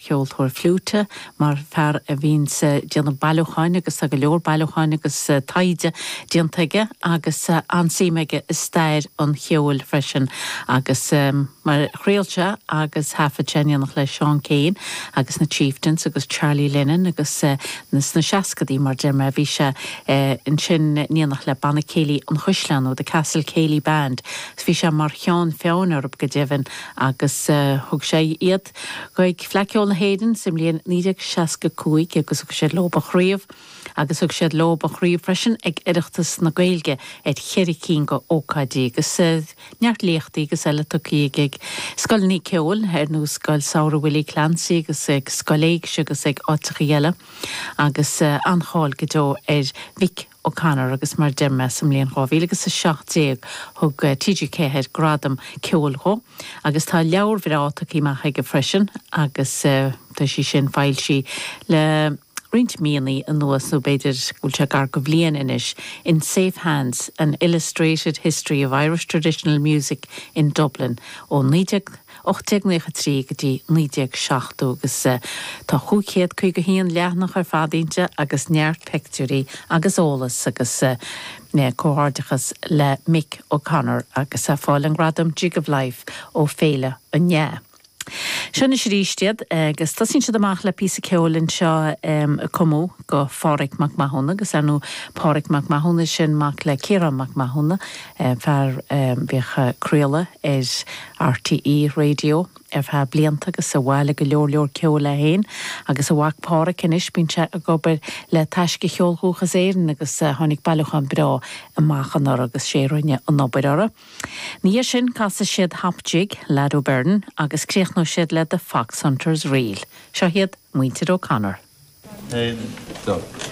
Cheoltóir fliúite, mar fear a bhíonns ag déanamh bailiúcháin agus tá go leor bailiúcháin agus taighde déanta aige agus an-suim aige i stair an cheoil freisin agus mar chraol sé agus thaifead sé in éineacht le Seán Keane agus na Chieftains agus Charlie Lennon agus sna seascadaí mar deir mé bhí sé ansin in éineacht le Banna Céilí an Chaisleáin nó The Castle Céilí Band bhí sé mar cheann feadhain orthu go deimhin agus thug sé iad Chuig Fleadh Cheoil na hÉireann sa mbliain 1965 agus thug siad leob an chraobh agus thug siad leob an chraobh freisin ag Oireachtas na Gaeilge ar cheithre cinn de ócáidí agus neart léachtaí agus eile tugtha aige ag scoileanna ceoil ar nós Scoil Samhraidh Willie Clancy agus ag Scoil Éigse agus ag áiteachaí eile agus an-cháil go deo ar Mhick O'Connor agus mar a deir mé sa mbliain 2017 thug TG4 gradam ceoil dhó agus tá leabhar bhreá tugtha amach aige freisin agus tá sí sin foilsithe le roinnt míonna anuas nó b'fhéidir go bhfuil sé gar go bhliain anois, In Safe Hands, An Illustrated History of Irish Traditional Music in Dublin ó 19. 1893 go dtí 1970 agus tá 551 leathanach ar fad inti agus neart peictiúirí agus eolas agus comhghairdeachas le Mick O'Connor agus é ag fáil an gradam Jig of Life ó Féile an Fhleadh. Seo anois arís iad agus tosaíonn siad amach le píosa ceoil anseo a cumadh go Phádhraic Mac Mathúna agus ar ndóigh Pádhraic Mac Mathúna sin mac le Ciarán Mac Mathúna fear a bhíodh ag craoladh ar RTÉ Radio ar feadh blianta agus a bhailigh go leor leor ceoil é féin agus a mhac Pádhraic anois bíonn sé ag obair le Taisce Cheol Dhúchas Éireann agus tháinig bailiúchán breá amach anuraidh agus sé a rinne an obair orthu. Ina dhiaidh sin casfaidh siad Hop Jig, Lad O'Beirne agus críochnóidh siad le The Foxhunters Reel. Seo iad muintir O'Connor. 1, 2.